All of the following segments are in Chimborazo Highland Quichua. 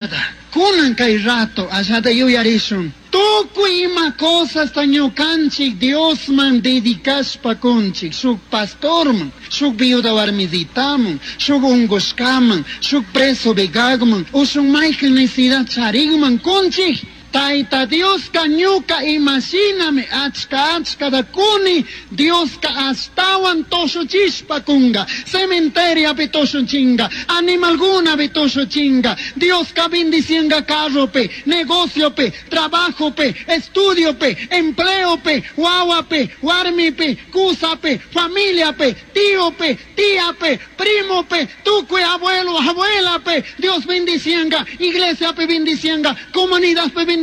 Cunan cai rato allata yuyarishun. Tucui ima cosasta ñucanchij Diosman dedicashpa cunchij, shuj pastorman, shuj viuda huarmisitaman, shuj ungushcaman, shuj preso vigagman, o shuj maijan necesidad charigman cunchij. Taita Diosca ñuca ima shinami achca achcata cuni, Diosca ashtahuan tushuchishpa cunga, cementeriapi tushuchinga, animalcunapi tushuchinga, Diosca bendicianga carropi, negociopi, trabajopi, estudiopi, empleopi, huahuapi, huarmipi, cusapi, familiapi, tiopi, tiapi, primopi, tucui abuelo, abuelapi, Dios bendicianga, iglesiapi bendicianga, comunidadpi bendicianga,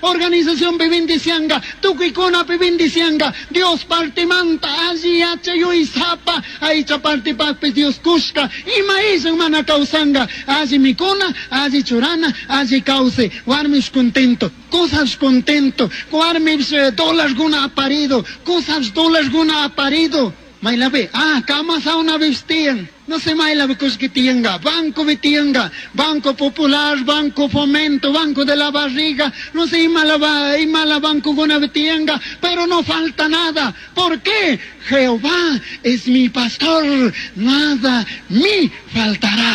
organizacionpi bendicianga, tucuicunapi bendicianga, Dios partimanta alli yachay yuyaisapa, aicha partipajpish Dios cushca, ima illan mana causanga, alli micuna, alli churana, alli causai, huarmish contento, cusash contento, huarmish dólarguna aparido, cusash dólarguna aparido. Mailapi, cama saunapish tiyan. No sé mailapi cullqui tiyanka, bancopi tiyanka, Banco Popular, Banco Fomento, Banco de la Barriga, no sé imala, imala bancokunapi tiyanka, pero no falta nada. ¿Por qué? Jehová es mi pastor, nada me faltará.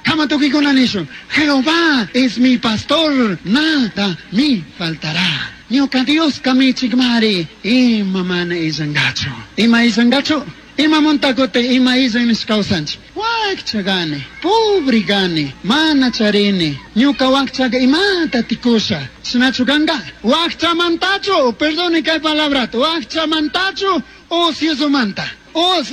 Kama tucuicuna nishun, Jehová es mi pastor, nada me faltará. Ñuca Diosca michigmari, ima mana illangachu. Ima illangachu? Ima montacote, ima illan nishpa causanchik. Huaccha gani, pobre gani, mana charini. Ñuca huacchaga imata ticusha. Chashnachu canga? Huacchamantachu, perdone kay palabrata, huacchamantachu, ociosomanta. Os,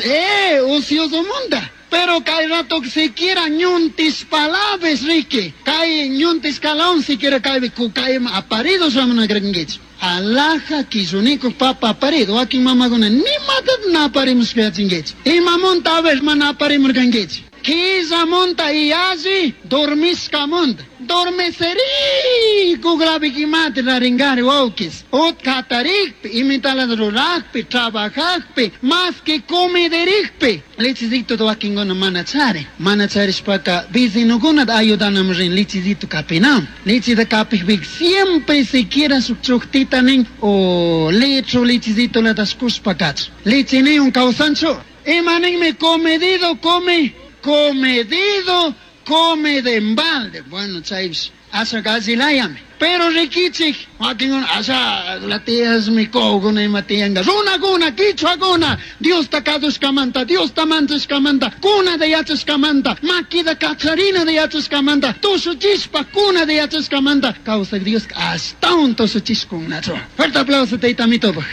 ociosomanta. Pero kay rato siquiera ñuntis palabras riqui. Kay ñuntis calaun siquiera kay kukay aparido shamuna crekinkichik. Alaja quilluniku papa aparido. Wakin mamakuna ni matata na aparimushka yachinkichik. Imamunta a ver mana aparimurkankichik. Quillamanta y alli dormishkamanta. Dormeseri kuglapikimati raringari wawkis. Utkatarikpi, imitalata rurakpi, trabajakpi, más que comiderikpi. Lechecito wakinkuna mana chari. Mana charishpaka vecinokunata ayudanam rin lechecito kapinam. Lecheta kapikpika siempre siquiera shuk chuktita nin o litro lechecito latash kushpa kachu. Leche niun kawsanchu. Ima ninmi comedido come, comedido come de embalde. Bueno, chaypish asha allilayami. Pero riquichik, wakinkuna asha la tiyasmi kawkuna ima tiyanka. Runakuna, quichuakuna, Diosta kasushkamanta, Diosta manchashkamanta, kunata yachashkamanta, maquita kacharinata yachashkamanta, tushuchishpa kunata yachashkamanta, kawsak Dioska ashtawan tushuchishkunnachu. Fuerte aplauso Tayta Amitopaj.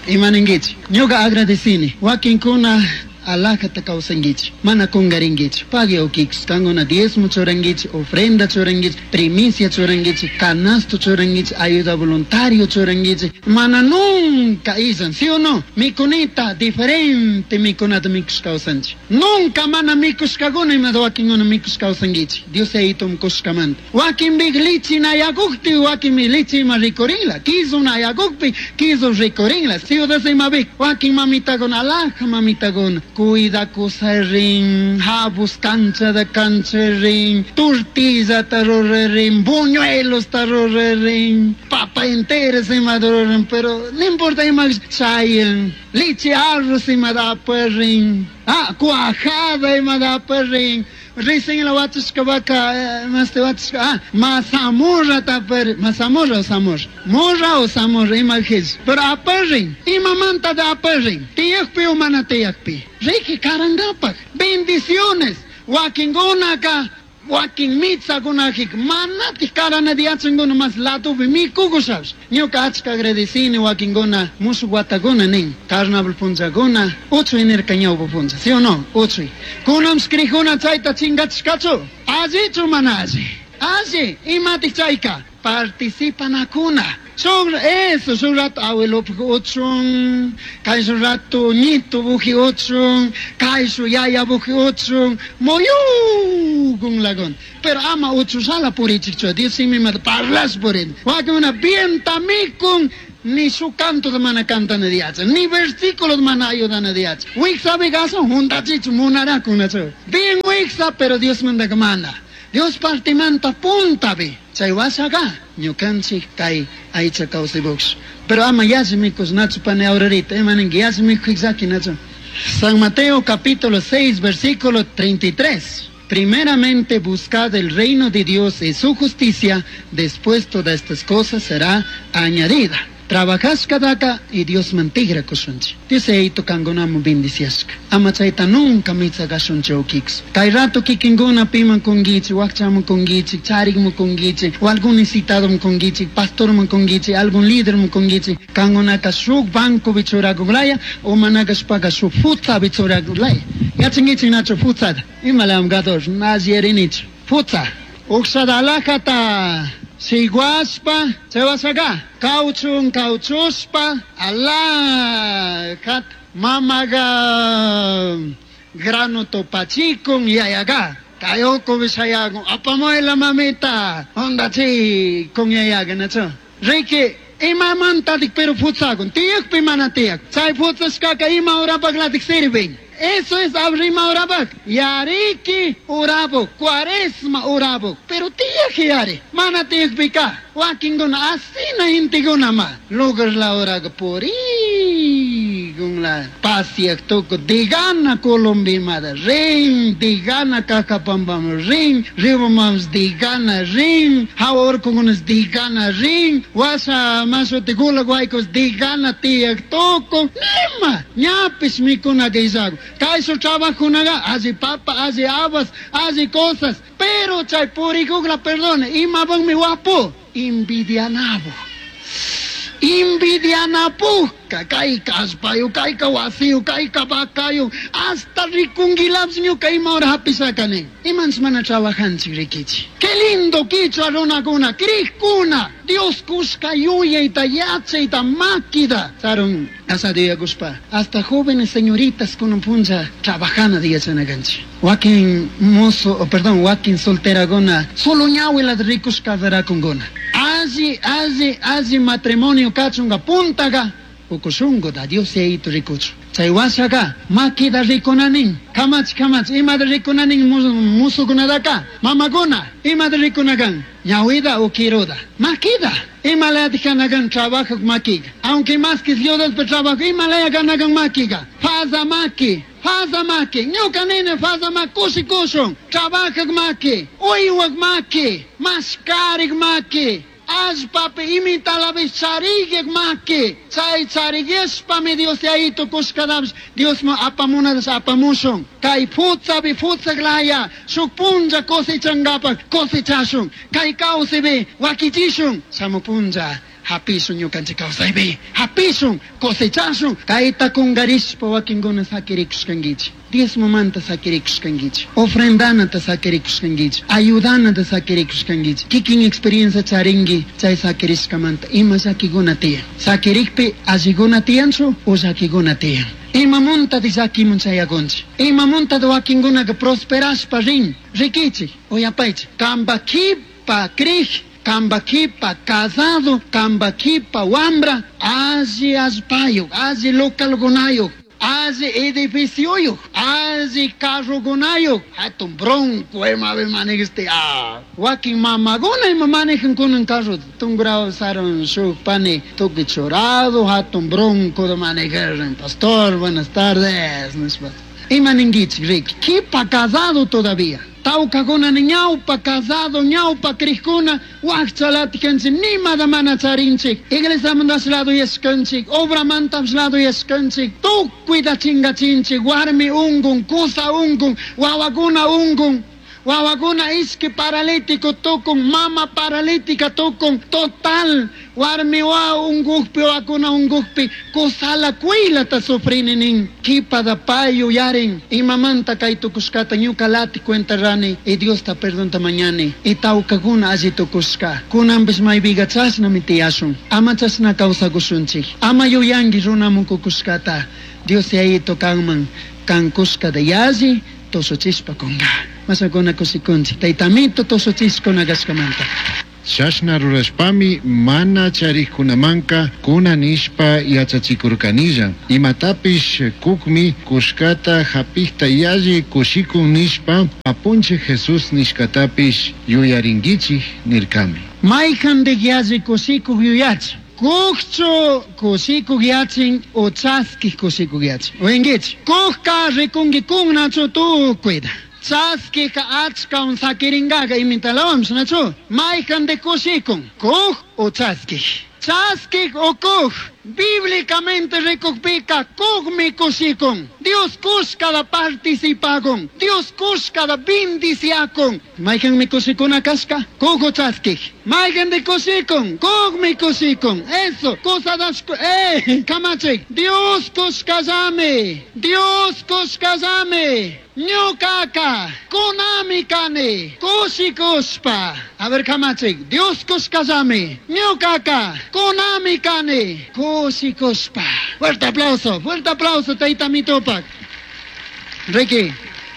Ima ninkichik? Ñuka agradecini. Wakinkuna alajata kawsankichik, mana kungarinkichik, pagui ukichik, kankuna diezmo churankichik, ofrenda churankichik, primicia churankichik, canasto churankichik, ayuda voluntario churankichik, mana nunca illan, ¿sí o no? Mikunita, diferente mikunata mikush kawsanchik. Nunca mana mikushkakuna imata wakinkuna mikush kawsankichik. Dios yayitum kushkamanta. Wakinpika lichi nayakukpi, wakinmi lichi ima rikurinla, kisu nayakukpi, kisu rikurinla. Ciudad imapika, wakin mamitakuna, alaja mamitakuna, cuidakusarin, habus canchata cancharin, tortillata rurarin, buñuelosta rurarin, papa entera imata rurarin, pero no importa ima chayan, leche arroz imata aparin, cuajada imata aparin, recién la wachashka vaca, más te wachashka, mazamorra tapar, mazamorra o zamorra, morra o zamorra, ima jes, pero aparin, imamanta de aparin, tiyakpi o mana tiyakpi, riki karangapak, bendiciones, wakingunaka, wakin mitzakunajik, manatik karana diachanguna mas latupi mikukushash. Ñuka achka agradecini wakinkuna mushuk watakuna nin, carnaval punllakuna, uchuy nirka ñawpa punlla, ¿sí o no? Uchuy. Kunamsh crijuna chayta chingachishkachu, allichu mana alli? Alli, imatik chayka? Participanakuna. Shuk eso, shuk rato abuelopuk uchun, kay shuk rato ñito buji uchun, kay shuk yaya buji uchun, muyukun lagun. Pero ama uchushala purichikchu, Dios simimanta parlash purin. Wakinkuna bienta mikun, Ni shuk cantota mana cantana yachan, ni versículos mana ayudana yachan. Wiksapi kasun juntachichu munarakunachu. Bien wiksa, pero Diosmantaka mana. Dios partimanta puntapi. Chay washaqa ñukanchik kay aycha kawsaypuksh. Pero ama yalli mikushnachu pani Aurorita, ima ninki yalli mikuy llakinachu. San Mateo capítulo 6, versículo 33. Primeramente buscad el reino de Dios y su justicia, después todas estas cosas será añadida. Trabajashkadaka y Diosman tigrakushunchik. Dios yayito kankunaman bendiciashka. Ama chayta nunca mitsakashunchik ukiks. Kay rato kikinkuna piman kunkichik, wakchaman kunkichik, charikman kunkichik, o algún necesitadoman kunkichik, pastorman kunkichik, algún líderman kunkichik. Kankunaka shuk bancopi churakunlaya o manakashpaka shuk futsapi churakunlaya. Yachankichik nachu futsata. Imalam gator, nasierinichu. Futsa. Uqshada alhajata shiguashpa, chay washaqa kawchun kawchushpa, alajata mamaqa grano tupachikun yayaqa. Kay ukupi shayakun, apamuyla mamita, jundachikun yayaqa, nachu. Riki, imamantatik pero futsakun, tiyakpi mana tiyak. Chay futsashkaka ima horapaklatik sirvin. Eso es abrima horapaq. Yariki horapuk, cuaresma horapuk. Pero tiyak yari, mana tiyakpika. Wakinkuna asina gentekuna ma. Lugar la horaqa purikunla. Pasiak tuku digana Colombimata rin, digana Cajapampaman rin, Riobambaman digana rin, hawa urkukunas digana rin, washa mashuti Gulag Waykus digana tiyak tuku, nima, ñapish mikunaka illaku. Kayshuk trabajunaqa alli papa, alli habas, alli cosas, pero chay purikukla, perdone, imapakmi wapu, envidianapuk. Envidianapukka, kayka allpayu, kayka wasiyu, kayka vacayu, hasta rikunkilapish ñuka ima hora hapishaka nin. Imanchik mana trabajanchik rikichik. Qué lindo quichua runakuna, crikuna, Dios kushka yuyayta, yachayta, makita. Sarun, asado yuyakushpa, hasta jóvenes señoritas kunan punlla trabajana yachanakanchik. Wakin mozo, oh, perdón, wakin solteraguna, solo ñawilata rikush casarakunkuna. Alli, alli, alli matrimonio kachunka puntaka, ukushunkuta Dios yayito rikuchu. Chay washaqa makita rikunanin, kamach, kamach, imata rikunanin musukunataka, mamakuna, imata rikunakan, ñawita o kiruta, makita. Imalaya kanakan trabajo makiga. Aunque más que ciudad trabajo, imalaya kanakan makiga. Faza maki, faza maki, ñuka nene faza maki, kushi kushun, trabajak maki, uywak maki, mashkarik maki. Allpapi imitalapish charigyak maki, chay charigueshpami Dios yayito kushkatapish Diosman apamunatash apamushun. Kay futsapi futsaklaya, shuk punlla cosechankapak cosechashun. Kay kawsaypi wakichishun, shamu punlla hapishun ñukanchik kawsaypi, hapishun, cosechashun. Kayta kunkarishpa wakinkuna sakirikushkankichik. Diezmomanta sakirikushkankichik, ofrendanata sakirikushkankichik, ayudanata sakirikushkankichik. Kikin experiencia charinki chay sakirishkamanta ima llakikuna tiyan. Sakirikpi allikuna tiyanchu o llakikuna tiyan. Imamunta llakimun chayakunchik. Imamunta wakinkunaka prosperashpa rin. Rikichik, uyapaychik. Kamba kipa krij, kamba kipa casado, kamba kipa wambra, alli allpayuk, alli localkunayuk, alli edificioyuk, alli carrokunayuk, hatun bronco imapi manejiste, ah. Wakin mamakuna ima manejan kunan carro, tungrao sarun shuk pani tukuy churado, hatun bronco de manejar, pastor, buenas tardes, nishpa. Ima ninkichik, Ricky, kipa casado todavía. Tawkakuna ñawpa casado, ñawpa crikuna, wakchalatikanchik, nimata mana charinchik, iglesiamantash lado yashkanchik, obramantash lado yashkanchik, tukuyta chingachinchik, warmi ungun, kusa ungun, wawakuna ungun, wawakuna ishki paralítico tukun, mama paralítica tukun, total, warmi wa ungukpi, wawakuna ungukpi, kusala kuylata sufrini nin, kipa da pay yuyarin, imamanta kay tukushkata ñuka lati cuenta rani, y Diosta perdonta mañani, y tawkakuna alli tukushka, kunanpish maypiqa chashnami tiyashun, ama chashna kawsakushunchik, ama yuyanki runamun kukushkata, Dios yayito kanman, kan kushkata yalli, tushuchishpa kunka. Mashakuna kushikunchik, taytamito tushuchishkuna kashkamanta. Chashna rurashpami mana charijcunamanca cuna nishpa yachachicurcanilla. Imatapish cujmi cushcata japijta yalli cushicun nishpa Apunchij Jesús nishcatapish yuyaringuichij nircami. Maijandik yalli kushikuk yuyachin. Kukchu kushikuk yachin o chaskik kushikuk yachin. Uyankichik. Kukka rikunkikunnachu tukuyta. Chaskikka achkawan sakirinkaqa imitalawanpish nachu. Maijandik kushikun. Kuk o chaskik. Chaskik o kuk. Bíblicamente rikukpika kukmi kushikun. Dios kushkada participakun. Dios kushkada bendiciakun. Mayqanmi kushikuna kashka? Kuk o chaskik. Mayqandik kushikun? Kukmi kushikun. Eso, kusadashku, kamachik. Dios kushkallami. Dios kushkallami. Ñukaka kunami kani kushikushpa. A ver, kamachik. Dios kushkallami. Ñukaka kunami kani kushikushpa. Fuerte aplauso, tayta mitupak. Ricky,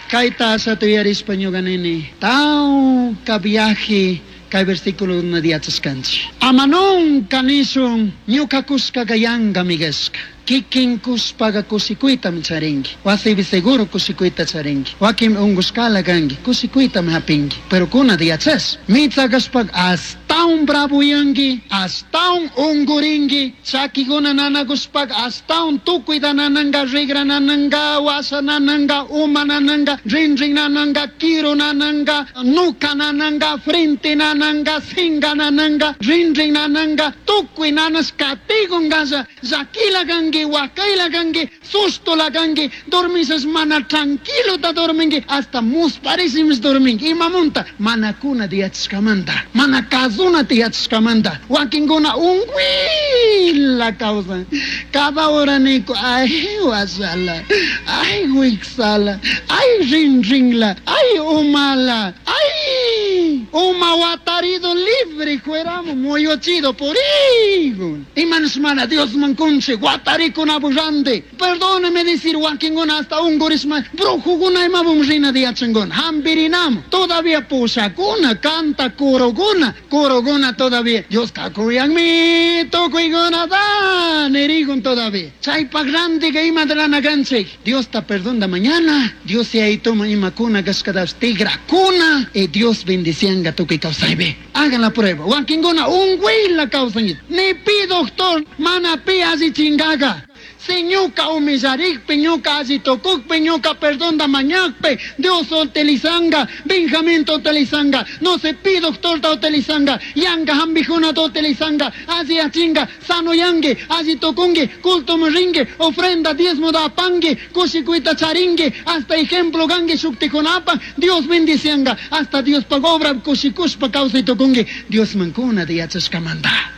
kayta ashata yuyarishpa ñuka nini. Tawka viaje kay versículo yachashkanchik. Ama nunca nishun ñuka kushkaka yankami kashka. Kikin kushpaga kushikuytami charinki. Wasipi seguro kushikuyta charinki. Wakin unkushkala kanki, kushikuytami hapinki. Pero kunata yachash. Mitsa kashpaka ashtawan bravoyanki, ashtawan unkurinki, chakikuna nanakushpaka ashtawan tukuyta nananka, rigra nananka, washa nananka, uma nananka, rinrin nananka, kiru nananka, nuka nananka, frente nananka, singa nananka, rinrin nananka, tukuy nanash katikungasha, llakila kanki, wakayla kanki, sustola kanki, dormisas mana tranquilo ta dorminki, hasta musparisimis dorminki. Imamunta mana kuna tiyachishkamanta, mana kazuna tiyachishkamanta, wakinkuna unkuyla kawsan. Cada hora niku, ay washala, ay wiksala, ay rinrinla, ay umala, ay uma watarido libre fuéramos muyuchido por higo. Imanos mana Dios mankunche, watarikuna burrande. Perdóneme decir wakinkuna hasta ungurisma, brujukuna imabum rina diachanguna, hampirinamo. Todavía pushakuna, canta kuruguna, kuruguna todavía. Dios kakuyanmi, tukuykuna da, nerigun todavía. Chaypa grande que ima drana ganche. Dios ta perdona mañana. Dios se ahí toma imakuna kashkadash tigrakuna. Y Dios bendicianga tukuy kawsaypi. Hagan la prueba. Wakinkuna unkuyla kawsan. Ni pi doctor, mana pi alli chingaga. Si ñuka humillarikpi, ñuka alli tukukpi, ñuka perdonda mañakpi, Dios utilizanga, Benjamín utilizanga, no se pi doctor ta utilizanga, yanga hambijuna ta utilizanga, alli achinga, sano yangue, alli tukungue, culto ringue, ofrenda diezmo da pangue, kushikuita charingue, hasta ejemplo gangue shuktikunapa, Dios bendicianga, hasta Dios pagobra kushikushpa kawsay tukungue, Dios mankuna de yachashkamanta.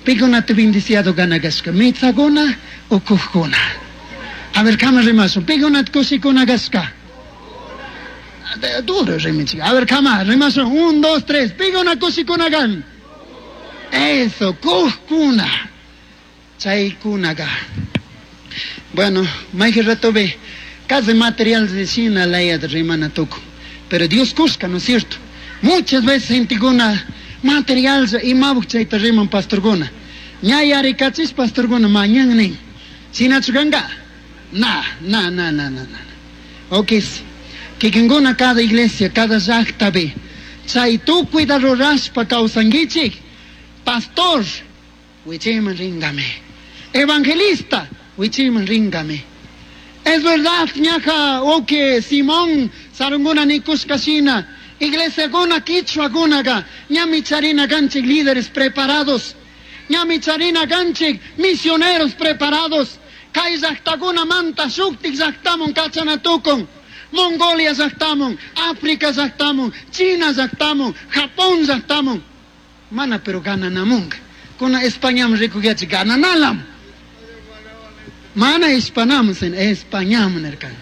Pikunata bendiciado ganagashka, mitsaguna o kujkuna. A ver, kama rimasun, pikunata kushikuna gashka. Duro rimichik. A ver, kama rimasun, 1, 2, 3, pikuna kushikuna gan. Eso, kujkuna. Chaykunaga. Bueno, mayqin ratopi casi material de China layata rimana tuku. Pero Dios kushka, ¿no es cierto? Muchas veces gentekuna material imabuk chayta riman pastorkuna. Ña yarikachis pastorkuna mañan nin. Shinachu kanka? Na, na, na, na, na, na. Ok, kikinkuna cada iglesia, cada llaqtapi chay tukuyta rurashpa kawsankichik. Pastor, wichayman ringame. Evangelista, wichayman ringame. Es verdad, ñaja, ok, Simón, sarunguna nikushka shina. Iglesia guna quichua gunaga, ñami charina ganchik líderes preparados, ñami charina ganchik misioneros preparados, kay llaqtakuna manta shuktik llaqtamun kachanatukun, Mongolia llaqtamun, África llaqtamun, China llaqtamun, Japón llaqtamun, mana pero gananamunga, kuna Españam rikuyachi gananalam, mana Hispanam sin Españam nirkan.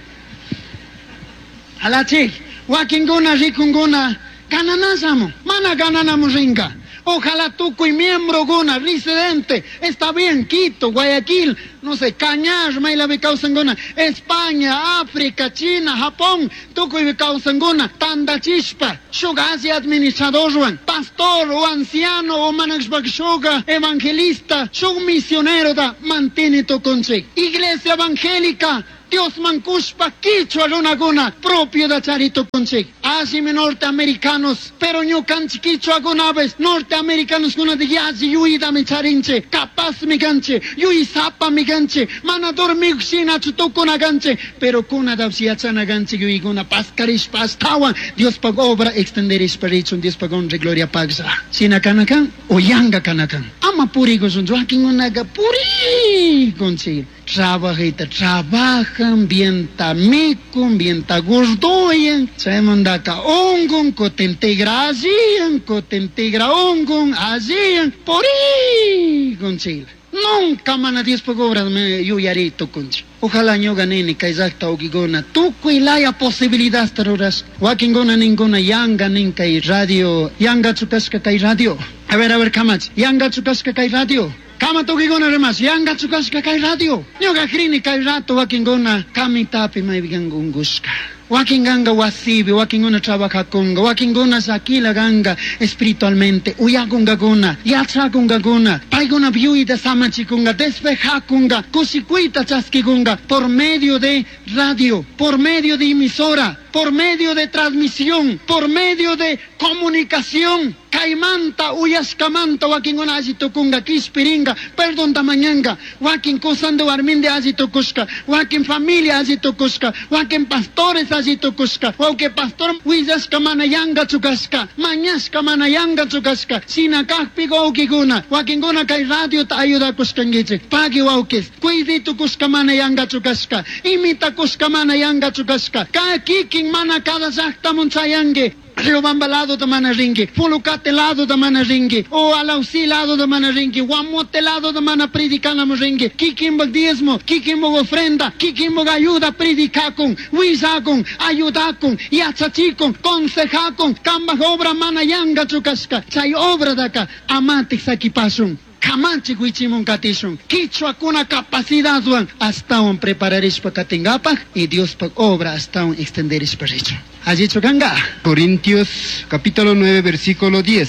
Alachik, wakinkuna rikunkuna gananasamu, mana gananamu rinka. Ojalá tukuy miembrokuna, residente, está bien, Quito, Guayaquil, no sé, Cañar, maylapi kawsankuna, España, África, China, Japón, tukuypi kawsankuna, tandachishpa, shuk alli administradorwan, pastor o anciano o manashpa shuk evangelista, shuk misionerota manteni tukunchik. Iglesia evangélica, Diosman kushpa kichwa runakuna propiedad chari tukunchik. Allimi norteamericanos, pero ñukanchik kichwakunapish norteamericanoskunata yalli yuyitami charinchik, capazmi kanchik, yuysapami kanchik, mana dormik shinachu tukuna kanchik, pero kunatapish yachana kanchik yuykuna paskarishpa ashtawan Diospaj obra extenderishpa richun Diospaj honra y gloria paglla. Shina kana kan o yanga kana kan. Ama purikushunchu, wakinkunaka purikunchik. Trabajayta trabajan, bienta mikun, bienta gordoyan, chaymantaka unqun, kutin tigra alliyan, kutin tigra unqun, alliyan, purikunchik. Nunca mana Diospaj obra yuyari tukunchik. Ojalá ñuka nini kay llaqta wawqikuna tukuy laya posibilidadta rurashka. Wakinkuna ninkuna yanga nin kay radio, yangachu kashka kay radio. A ver, kamachi, yangachu kashka kay radio. Kama tukikuna rimash, yangachu kashka kay radio. Ñuka krini kay rato wakinkuna kamitapi maypikanka unkushka. Wakin ganga wasibi, wakinkuna trabajakunga, wakinkuna llakila ganga espiritualmente, uyakunkakuna, yachakunkakuna, paykuna yuyta samachikunga, despejakunga, kushikuyta chaskikunga por medio de radio, por medio de emisora, por medio de transmisión, por medio de comunicación. Kaymanta, uyashkamanta, wakinkuna alli tukunga, kishpiringa, perdonta mañanga, wakin kusanda warminde alli tukushka, wakin familia alli tukushka, wakin pastores alli tukushka, wawki pastor willashka mana yanga chukashka, mañashka mana yanga chukashka, shina kajpi wawkikuna, wakinkuna kay radiota ayudakushkankichik, pagui wawkis, cuidi tukushka mana yanga chukashka, imitakushka mana yanga chukashka, ka kikin mana cada llaqtamun chayanki, Riobamba lado da mana ringi, Pulucate lado da mana ringi, o Alausí lado da mana ringi, Guamote lado da mana predicanamo ringi, kikimbag diezmo, kikimbag ofrenda, kikimbag ayuda predicakun, willakun, ayudakun, yachachikun, consejakun, kambaj obra mana yanga chukashka, chay obra daka amatik sakipasun. Kamachi wichimun katishun, kichwakuna capacidadwan astawan prepararishpa katingapaj y Diospaj obra astawan extenderishpa richun. Allichu kanga. Corintios capítulo 9 versículo 10.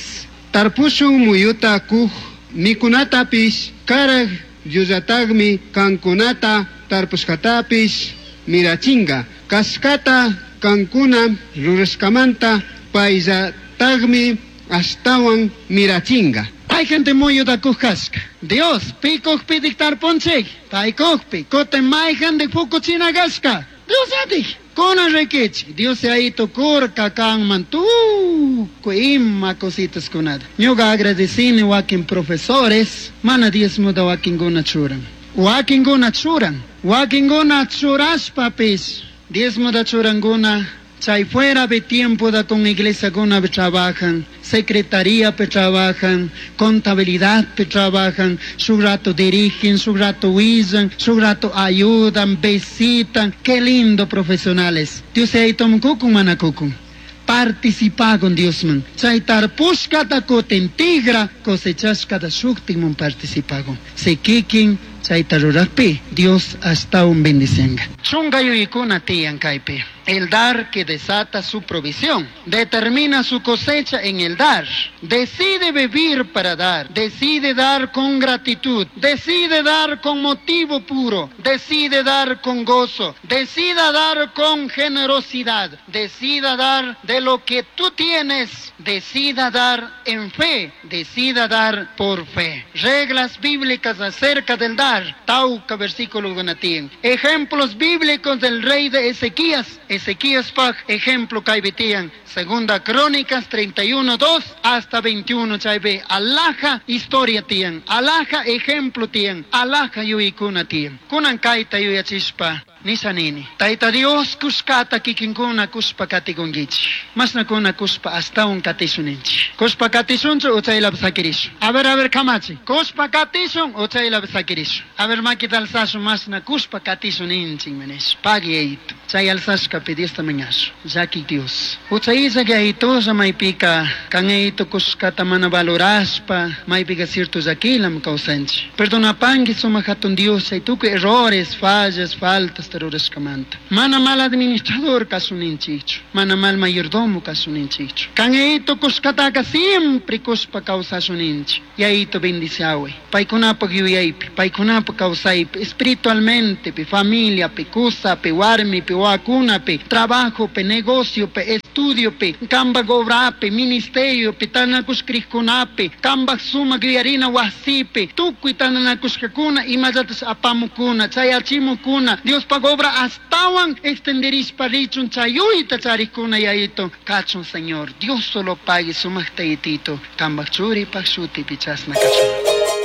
Tarpushun muyuta kuj mikunatapish karaj yullatagmi kankunata tarpushkatapish mirachinga. Kashkata kankuna rurashkamanta payllatagmi ashtawan mirachinga. Hay gente muyuta kuj kashka. Dios, pi kujpi tarpunchik, pay kujpi, kutin mayjandi pukuchina kashka. Dios atik. Kuna rikichik, Dios ahí tukurka kanman tukuy ima cositas kunata. Ñuka agradecini wakin profesores, mana diezmota wakinkuna churan. Wakinkuna churan, wakinkuna churashpapis, diezmota churankuna, chay fuera de tiempo da con iglesia kuna trabajan, secretaría pe trabajan, contabilidad pe trabajan, su rato dirigen, su rato huillan, su rato ayudan, visitan. Qué lindo profesionales. Dios ahí tom kukun manakukun. Participa con Dios man. Chay tarpushkata kutin tigra cosechashkata shuktin participa con. Se kikin chayta rurajpi Dios ashtawan bendicenga. Chunga yuykuna tiyan kaypi. El dar que desata su provisión, determina su cosecha en el dar, decide vivir para dar, decide dar con gratitud, decide dar con motivo puro, decide dar con gozo, decida dar con generosidad, decida dar de lo que tú tienes, decida dar en fe, decida dar por fe. Reglas bíblicas acerca del dar. Tauca versículo gunatien. Ejemplos bíblicos del rey de Ezequías. Ezequías paj, ejemplo kaibitian. Segunda Crónicas 31, 2 hasta 21, chaybe. Alaja historia tian. Alaja ejemplo tian. Alaja yuikuna tian. Kunan kaita yuyachispa. Nisanini. Taita Dios kushkata kikinkuna kushpa katikunkichi. Masna kuna kushpa astawan katisuninchi. Kushpa katisunchu uchaylap sakirishu. A ver, kamachi. Kushpa katisun uchaylap sakirishu. A ver, makita alsashu masna kushpa katisuninchi manesh. Pagi eitu. Chay alsashka. punllapi Diosta mañashun. Llaquij Dios. Jucha illaj Yayitulla maypika kan Yayito kushkata mana valorashpa maypika cierto llaquilam kawsanchik. Perdonapangui sumak hatun Dios chay tukuy errores, fallas, faltas rurashkamanta. Mana mal administrador kasuninchikchu, mana mal mayordomo kasuninchikchu. Kan Yayito kushkataka siempre kushpa kawsashuninchik. Yayito bendiciaway. Paykunapaq yuyaypi, paykunapaq kawsaypi, espiritualmente, familiapi, kusapi, warmipi, wawakunapi, trabajopi, negociopi, estudiopi, kambak obrapi, ministeriopi, tantanakushkikunapi, kambak sumak yuyarina wasipi, tukuy tantanakushkakuna imallatash apamukuna, chayachimukuna, Diospaq obra astawan extenderishpa richun chayuyta charikuna Yayito kachun Señor. Dios solo pague sumak taytito, kambak churipak shutipi chasna kachun.